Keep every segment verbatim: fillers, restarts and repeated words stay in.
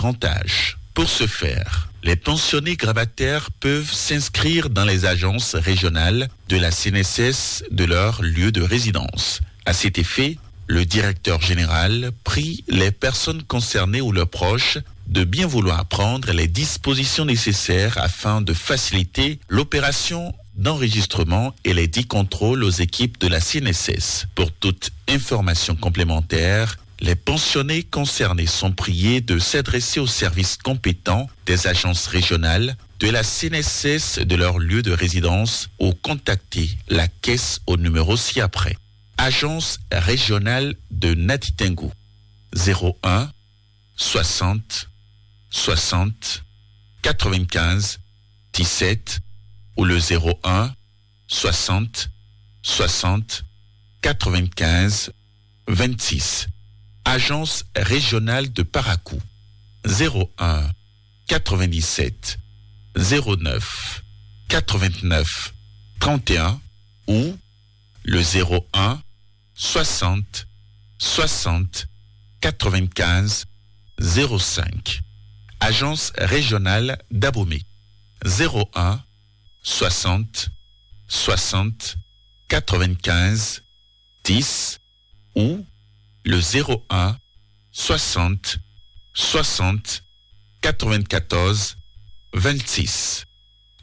grand âge. Pour ce faire, les pensionnés grabataires peuvent s'inscrire dans les agences régionales de la C N S S de leur lieu de résidence. À cet effet, le directeur général prie les personnes concernées ou leurs proches de bien vouloir prendre les dispositions nécessaires afin de faciliter l'opération d'enregistrement et les dix contrôles aux équipes de la C N S S. Pour toute information complémentaire, les pensionnés concernés sont priés de s'adresser aux services compétents des agences régionales de la C N S S de leur lieu de résidence ou contacter la caisse au numéro ci-après. Agence régionale de Natitengu, zéro un, soixante, soixante, quatre-vingt-quinze, dix-sept, ou le zéro un, soixante, soixante, quatre-vingt-quinze, vingt-six. Agence régionale de Parakou, zéro un, quatre-vingt-dix-sept, zéro neuf, quatre-vingt-neuf, trente et un, ou le zéro un, soixante, soixante, quatre-vingt-quinze, zéro cinq. Agence régionale d'Abomey, zéro un, soixante, soixante, quatre-vingt-quinze, dix, ou le zéro un, soixante, soixante, quatre-vingt-quatorze, vingt-six.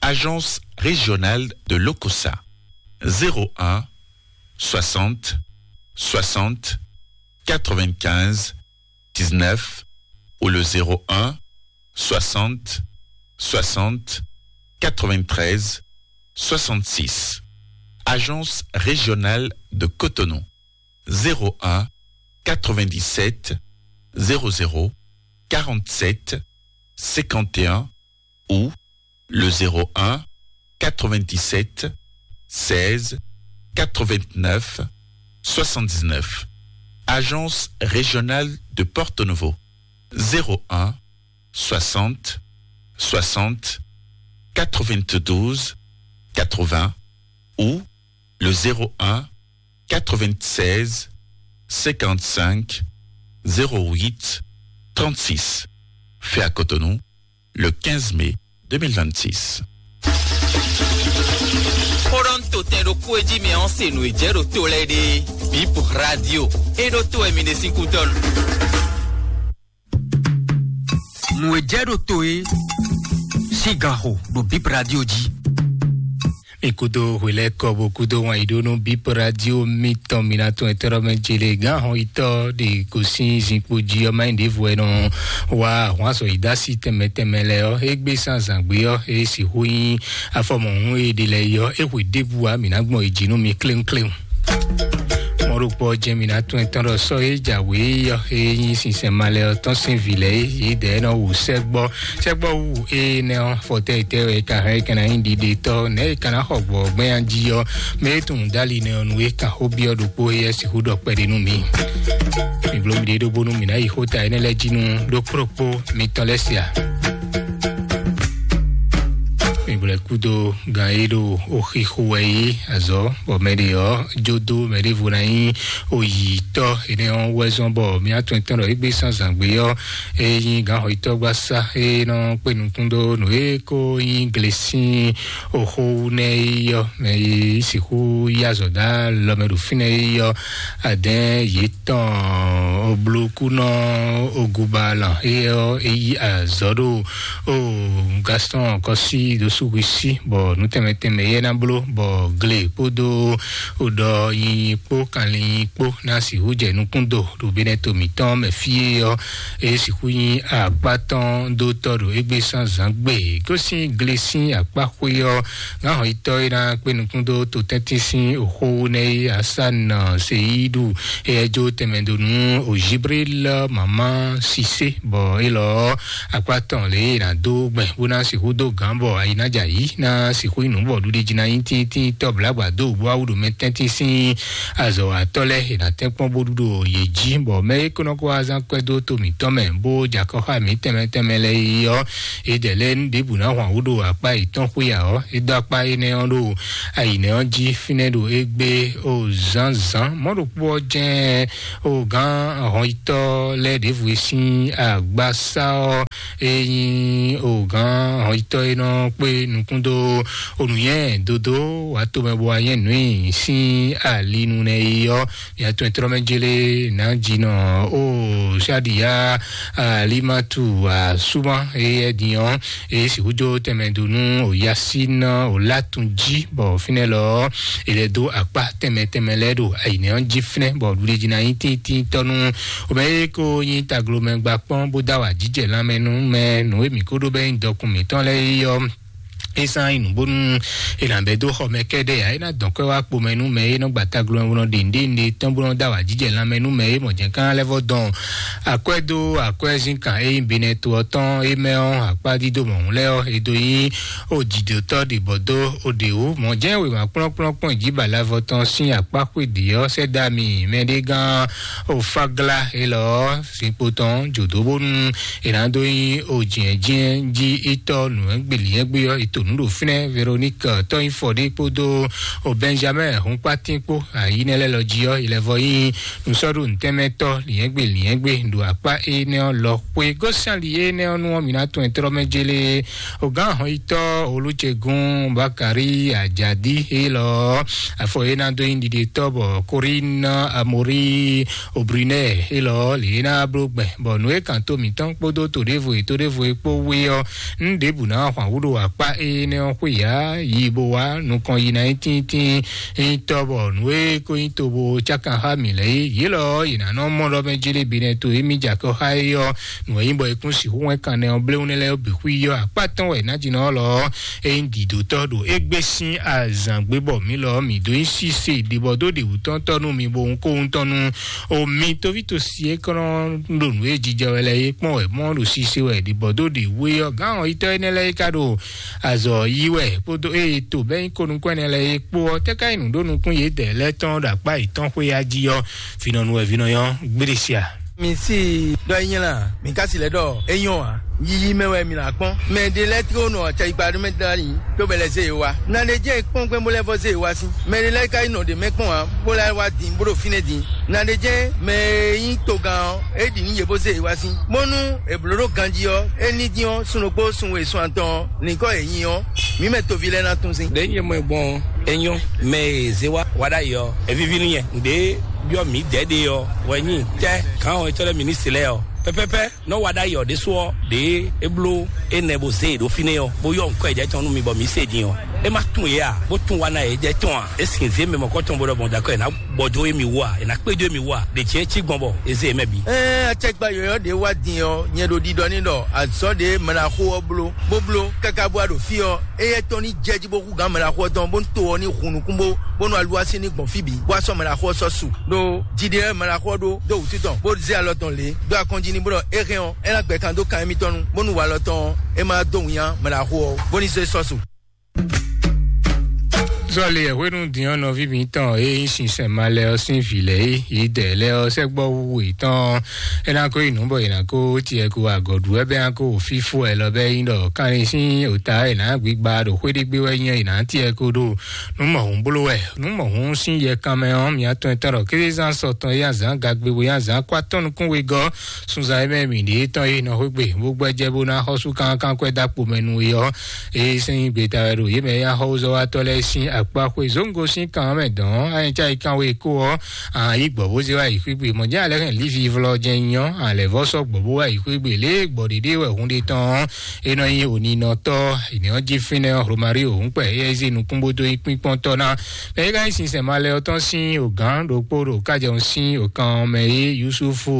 Agence régionale de l'Okosa, zéro un, soixante, soixante, quatre-vingt-quinze, dix-neuf, ou le zéro un, soixante, soixante, quatre-vingt-treize, soixante-six. Agence régionale de Cotonou, zéro un, quatre-vingt-dix-sept, zéro zéro, quarante-sept, cinquante et un, ou le zéro un, quatre-vingt-dix-sept, seize, quatre-vingt-neuf, soixante-dix-neuf. Agence régionale de Porto Novo, zéro un, soixante, soixante, quatre-vingt-douze, quatre-vingts, ou le zéro un, quatre-vingt-seize, cinquante-cinq, zéro huit, trente-six. Fait à Cotonou, le quinze mai deux mille vingt-six. Xó ɖɔ nú to tɛn ɖokpó e jí mɛ ɔ́ se nǔ e jɛ ɖo to lɛ́ɛ ɖe. Bip Radio. E ɖo to wɛ mi ɖe sín kútɔ́ nu. Nǔ e jɛ ɖo to e sín gan xo ɖo Bip Radio jí. Mi kúdó hwelɛ́kɔ bó kúdó wǎn yí ɖó nú Bip Radio mitɔn, mi ná tɔn etɔ́ ɖɔ mɛ jele gán hɔn yitɔ́ ɖe gosín zinkpo jí ɔ́, má nyí ɖěvo wɛ nɔ wá ahwan azɔ̌ yi dó así tɛnmɛ tɛnmɛ lɛ́ɛ ɔ́, égbé sín azǎn gbe ɔ́, é sixú nyí afɔmɔhún e ɖe lɛ́ɛ yi ɔ́, é hwe ɖěbǔ ǎ, mǐ ná gbɔn yi jí nú mi kléwúnkléwún. Mɔ̌ ɖokpó ɔ́ jɛ́n mǐ ná tunwun etɔ́n ɖɔ sɔ́ e jǎwe ɔ́, e nyí sinsɛn malɛ ɔ́ tɔn sín vǐ lɛ́ɛ é, yědɛɛ nɔ wu sɛ́gbɔ. Sɛ́gbɔ wu énɛ́ ɔ́, fɔtɛ́ yětɛ́ wɛ é ka hɛn é ka ná nyí ɖiɖetɔ́, nɛ̌ é ka ná xɔ gbɔ gbɛ́nyan jí ɔ́, mɛ e tunwun dó ali nɛ́ ɔ́ nu é kan xó byɔ́ ɖokpó éyɛ́ sixú ɖɔ kpɛɖé nú mǐ. Mi bló miɖée ɖó bónú mǐ ná yi xó ta énɛ́ lɛ́ɛ jí nú ɖó kplɔ́kpó mitɔn lɛ́ɛ sia. Mi blɛ́ kúdó gan e ɖo oxixo wɛ é azɔ̌, bɔ mɛ ɖě ɔ́ jó dó mɛ ɖěvo ná nyí oyǐtɔ́. Énɛ́ ɔ́ wɛ zɔ́n bɔ mía tɔn tɔn ɖɔ égbé sín azǎngbe ɔ́, é nyí gǎnxɔyítɔ́gbasá e nɔ kpé nukún dó nǔ e ko nyí glesín oxó wú nɛ́ é ɔ́, mɛ e sixú yí azɔ̌ dó alɔ mɛ ɖo fínɛ́ é ɔ́, adɛ̌n yětɔn oblokúnɔ ogubalɔ é ɔ́, é yí azɔ̌ ɖo o Gaston Kɔsi dó súhwisí, bɔ nǔ tɛnmɛ tɛnmɛ yɛ ná bló, bɔ gle kpódó ɖɔ nyinyi kpó kanlin kpó ná sixú jɛ nukún do ɖo Benɛto mǐtɔn mɛ fí é ɔ́, é sixú nyí akpá tɔn dó tɔ́ ɖo égbé sín azǎn gbe. Gosín gle sín akpá xwé ɔ́, gǎnhɔnyitɔ́ e ná kpé nukún dó to tɛ́ntin sín oxó wú nɛ́ é Asan Seyidu, éyɛ́ jó tɛnmɛ dó nú Jibril Mama Sise, bɔ élɔ́ ɔ́, akpá tɔn lě e è nǎ dó gbɛn bó ná sixú dó gǎn bɔ ayi ná jɛ ayǐ ná sixú nyí nǔ bɔ ɖuɖi jí ná nyí tíntín tɔ́ blǎgbà dó bó wá wú ɖo mɛ tɛ́ntin sín azɔ̌watɔ́ lɛ́ɛ è nǎ tɛ́nkpɔ́n bó ɖu ɖo yě jí, bɔ mɛ e kó nɔ kó wá zán kwɛ́ dó to mǐtɔn mɛ bó jɛ akɔ xá mǐ tɛnmɛ tɛnmɛ lɛ́ɛ é ɔ́, é dɛ lɛ́ɛ nú ɖěbǔ ná hwan wú ɖo akpá yětɔn xwé ǎ ɔ́, é dó akpá énɛ́ ɔ́ ɖo ayǐnɛ́ ɔ́ jí fínɛ́ ɖo égbé o zǎnzǎn. Mɔ̌ ɖokpó ɔ́ jɛ́n o gǎn ahɔnyitɔ́ lɛ́ɛ ɖěvo e sín agbasá ɔ́, E nyí ògán hɔnyitɔ́ e nɔ kpé nukún dó onǔnyɛ dodó wǎ tomɛ bó wá nyɛ nǔ nyi sín ali nu nɛ yi ɔ́, mia tɔn e tlɔ́ mɛ jélé nǎ jinɔ o Sadiya Alimatu Asuma e yɛ din ɔ́, e sixú jó tɛnmɛ dó nú o Yasin o Latun jí, bɔ fínɛ́ lɔ ɔ́, e lɛ dó akpá tɛnmɛ tɛnmɛ lɛ́ɛ ɖo ayǐnɛ́ ɔ́ jí fínɛ́, bɔ ɖuɖéjínà nyí tíntíntɔ́ nú o mɛ e ko nyí taglomɛ gba kpɔ́n bó dó awǎjijɛ lanmɛ nú mɛ nǔ e mǐ ko ɖó bɔ é nyí dɔkun mǐtɔn lɛ́ɛ é ɔ́. É sán nyí nǔ bónú è nǎ bɛ́ dó xɔ mɛ kɛ́ɖɛ́ ǎ, é ná dɔn kwɛ́ wá kpo mɛ nú mɛ e nɔ gba taglomɛ bó nɔ ɖe nǔɖé nǔɖé tɔn bó nɔ dó awǎjijɛ lanmɛ nú mɛ e mɔ jɛ̌nkán lɛ́ vɔ dɔn akwɛ́ dó akwɛ́ zínkan e nyí Benɛto ɔ́ tɔn é mɛ ɔ́, akpá dídó mɔ̌hun lɛ́ɛ ɔ́, è dó nyí o jǐdótɔ́ ɖě bɔ dó o ɖě wú. Mɔ̌ jɛ́n wěma kplɔ́nkplɔ́n kpɔ́n jí balavɔ tɔn sín akpá xwé ɖě ɔ́ sɛ́ dó ami mɛɖé gán o Fagla élɔ́ ɔ́, zinkpo tɔn jǒdó bónú è nǎ dó nyí o jǐnjɛ́n jí itɔ́ nǔ e gbě linyɛ́gbé ɔ́, è to nǔ ɖo fínɛ́. Véronique tɔ́nyífɔ ɖé kpódó o Benjamin Hunkpatín kpó ayǐ nɛ́ lɛ́ɛ lɔ jí ɔ́, è lɛ́ vɔ nyí nusɔ́ɖu nǔtɛnmɛtɔ́ linyɛ́gbé linyɛ́gbé ɖo akpá énɛ́ ɔ́ lɔ xwé. Gosali énɛ́ ɔ́ nu ɔ́, mǐ ná tɔn ɛ tlɔ́ mɛ jélé. Ogǎn hɔnyitɔ́ Olúcegún Bakari Ajadi élɔ́, afɔ e ná dó nyí ɖiɖetɔ́ bɔ Korín Amorí Obrinɛ élɔ́ lě e ná bló gbɛn, bɔ nǔ e kan tó mǐtɔn kpódó todévo e todévo e kpó wé ɔ́, nǔ ɖěbǔ ná hwan wú ɖo akpá énɛ́ ɔ́ xwé ǎ. Yi bó wá nukɔn yi ná nyí tíntín nyí tɔ́, bɔ nǔ e ko nyí tobo cákan xá mǐ lɛ́ɛ é, yě lɔ ɔ́, yě ná nɔ mɔ ɖɔ mɛ jélé Benɛto émí jɛ akɔ xá é ɔ́, nǔ e nyí bɔ è kún sixú hwɛ́n kannɛ ɔ́ bléwúnɛ́ lɛ́ɛ ɔ́ bǐ xwí ɔ́, akpá tɔn wɛ nǎjínɔ ɔ́ lɔ ɔ́, é nyí dǐdótɔ́ ɖo égbé sín azǎn gbé, bɔ mǐ lɔ ɔ́, mǐ dó nyí síse ɖibɔ dó ɖi wǔtɔ́ntɔ́ nú mi, bo wún kó wúntɔ́ nú o mi tóvítosi e kɔn ɖo nǔ e jijɛ wɛ lɛ́ɛ é kpɔ́n wɛ mɔ́ ɖo síse wɛ ɖibɔ dó ɖi wú é ɔ́, gǎn ɔ́ yitɔ́ énɛ́ lɛ́ɛ é ka ɖo azɔ̌ yí wɛ kpódó eye to bɛ́ nyí ko nukún ɛnɛ lɛ́ɛ é kpó ɔ́, tɛ́ ka nyí nǔɖónúkún yědɛɛ lɛ́ɛ tɔn ɖo akpá yětɔn xwé ya jí ɔ́, vǐnɔnu wɛ vǐnɔ nyɔ́ gbéɖe sia. Mi si ɖɔ é nyí la, mi ka si lɛ ɖɔ é nyɔ́ ǎ. Yiyi mɛ wɛ mi là kpɔ́n. Mɛ ɖe lɛ́ɛ tló nɔ acɛyigba ɖó mɛ dali, tó bɛ lɛ zé yě wá. Na ɖe jẹ́ kpɔ́n gbɛn bó lɛ́ vɔ zé yě wá sí. Mɛ ɖe lɛ́ɛ ka yi nɔ ɖě mɛ kpɔ́n ǎ, bó lɛ́ wá din bó ɖo fínɛ́ din. Na ɖe jẹ́ mɛ e nyí togán ɔ́, é ɖi nǔ yě bó zé yě wá sí. Bónú è blǒ ɖó ganjí ɔ́, é ní dín ɔ́, sun ɖokpó sun we sun atɔn ɔ́, nyǐkɔ yě nyi ɔ́, mǐ mɛ toví lɛ́ɛ ná tún sín. Ɖě nyɛ mɔ ɛ gbɔn ɔ́, é nyɔ́. Mɛ e zé wá wá ɖ'ayǐ ɔ́, é víví nú nyɛ. Nǔɖé byɔ́ mǐ dɛ̌ ɖe ɔ́ wɛ nyí tɛ́ gǎn ɔ́ e cɔ́ lɛ́ mǐ ní se lɛ́ɛ ɔ́. Pɛ́pɛ́pɛ́ nɔ́ wá ɖ'ayǐ ɔ́ ɖésú ɔ́, ɖě é bló énɛ́ bó zé e ɖó fínɛ́ ɔ́, bó yɔ́ nǔkɔ e jɛ tɔn nú mi bɔ mǐ se din ɔ́, é má tunwun yě a, bó tunwun wa ná yě jɛ tɔn a? É sin zě mɛ mɔ̌kɔtɔn bó ɖɔ gbɔn dó akɔ è nǎ gbɔ dó émí wú a? È nǎ kpé dó émí wú a? Ɖě jɛ́n cí gbɔn bɔ è zé yě mɛ bǐ. Ɛɛ, acɛkpa yɔ̌yɔ́ ɖě wá din ɔ́, nyɛ ɖo ɖiɖɔ ní ɖɔ azɔ̌ ɖě mlaxó ɔ́ bló, bó bló káká bó wá ɖo fí ɔ́, éyɛ́ tɔn ní jɛ jí bó hú gǎn mlaxó ɔ́ tɔn, bó ní to ɔ́ ní hun nukún bó, bó nú aluwási ní gbɔn fí bǐ, bó wá sɔ́ mlaxó ɔ́ sɔ́ su. Ɖó jiɖe wɛ mlaxó ɔ́ ɖó dó wǔtu tɔn, bó zé alɔ tɔn lě dó akɔnjí ní bó ɖɔ é hɛn ɔ́, é ná gbɛ kan dó kan émítɔn nu, bónú walɔ tɔn ɔ́, é má dó winnyá mlaxó ɔ́, bó ní zé sɔ́ su. Sɔli ɛ hwenu din ɔ́, nɔví mǐtɔn e nyí sinsɛn ma lɛ ɔ́ sín vǐ lɛ́ɛ é, yě dɛ lɛ́ɛ ɔ́ sɛ́gbɔ́ wu yětɔn ɔ́, é ná kó yi nǔ bɔ yě ná kó tiɛ kó agɔ̌ɖu wɛ bɛ́ ná kó fífó ɛ lɔ bɛ́ nyí ɖɔ kanlin sín òta è nǎ gbígba ɖo xwéɖégbé wɛ nyɛ yě ná tiɛ kó ɖo nǔ mɔ̌hun bló wɛ. Nǔ mɔ̌hun sín yɛ kanmɛ ɔ́, mǐ atɔn e tɔn ɖɔ kézezán sɔ tɔn e azǎn gagbe bo nyí azǎn kó atɔ́ nukún wegɔ́ sunzan e mɛ mǐ ɖe tɔn e nɔ xwé gbe bó gbɛ́jɛ́ bó ná xɔ́sú kankan kwɛ́ dó akpo mɛ nú we ɔ́, eye sín gbeta wɛ ɖo yě mɛ e nyí axɔ́zɔ́watɔ́ lɛ́ɛ sín akpá xwe zǒngo sín kan ɔ́ mɛ dɔn anyɛ́cá yi kan we kó ɔ́, a yí gbɔ̌ bó zé wá yi xwé gbe. Mɔ̌ jɛ́n alɛ hɛn Livi vlɔ jɛ́n nyɔ́, a lɛ̌ vɔ́ sɔ́ gbɔ̌ bó wá yi xwé gbe lě e gbɔ̌ ɖiɖe wɛ hun ɖe tɔn ɔ́, é nɔ nyí òninɔtɔ́, è nǐ ɔ́ jí fínɛ́ ɔ́, Romario Hǔnkpɛ, éyɛ́ zé nukún bó dó nyí kpínkpɔ́ntɔ́ ná. Mɛ e ka nyí sinsɛn malɛ ɔ́ tɔn sín ògǎn ɖokpó ɖo kájɛun sín òkan ɔ́ mɛ é, Yusufu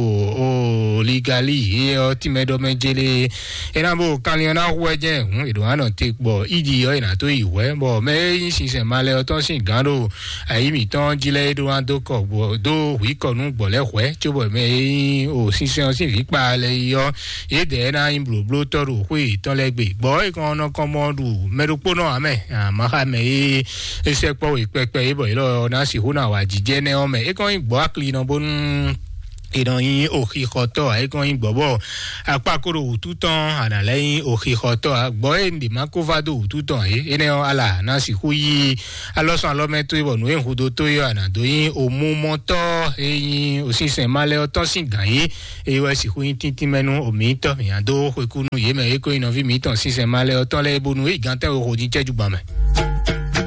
Oligali, é ɔ́ tínmɛ ɖɔ mɛ jélé. É ná bó kanlin ɔ́ ná hu wɛ jɛ́n hǔn è ɖǒ ná nɔ te gbɔ ídi ɔ́, è nǎ tó yi hwɛ̌, bɔ mɛ e nyí sinsɛn malɛ ɔ́ tɔn sín gǎn ɖo ayǐ mǐtɔn jí lɛ́ɛ é ɖó ná dó kɔ gbɔ dó hwǐ kɔ nú gbɔ̌ lɛ́ɛ hwɛ̌, cóbɔ mɛ e nyí o sinsɛn ɔ́ sín vǐ kpa lɛ́ɛ yi ɔ́, yědɛɛ ná nyí blǒblótɔ́ ɖo xwé yětɔn lɛ́ɛ gbe. Gbɔ̌ e kɔn nɔ kɔn mɔ ɖu mɛ ɖokpónɔ ǎ mɛ, àmọ́ xá mɛ e é sɛkpɔ́ we kpɛkpɛ é bɔ yě lɔ ná sixú ná wa jijɛ nɛ́ ɔ́ mɛ. É kɔn nyí gbɔ̌ aklinɔ bónú È nɔ nyí oxixɔtɔ́ ǎ, é kɔn nyí gbɔ̌ bɔ akpá kó ɖo wǔtu tɔn, a nǎ lɛ́ nyí oxixɔtɔ́ ǎ. Gbɔ̌ e un ɖě má kó vá dó wǔtu tɔn ǎ é, énɛ́ ɔ́, ala ná sixú yí alɔsɔn alɔmɛ towe bɔ nǔ e un hu dó towe ɔ́, a nǎ dó nyí omumɔtɔ́ e nyí osínsɛn ma lɛ́ ɔ́ tɔn sín gǎn yí. Eye wɛ sixú nyí tíntín mɛ nú omǐtɔn mǐ ná dó xwekú nú yě mɛ e ko nyí nɔví mǐtɔn sínsɛn ma lɛ́ ɔ́ tɔn lɛ́ɛ, bónú é yi gantɛ́ we xo dín cɛ́jú gban mɛ.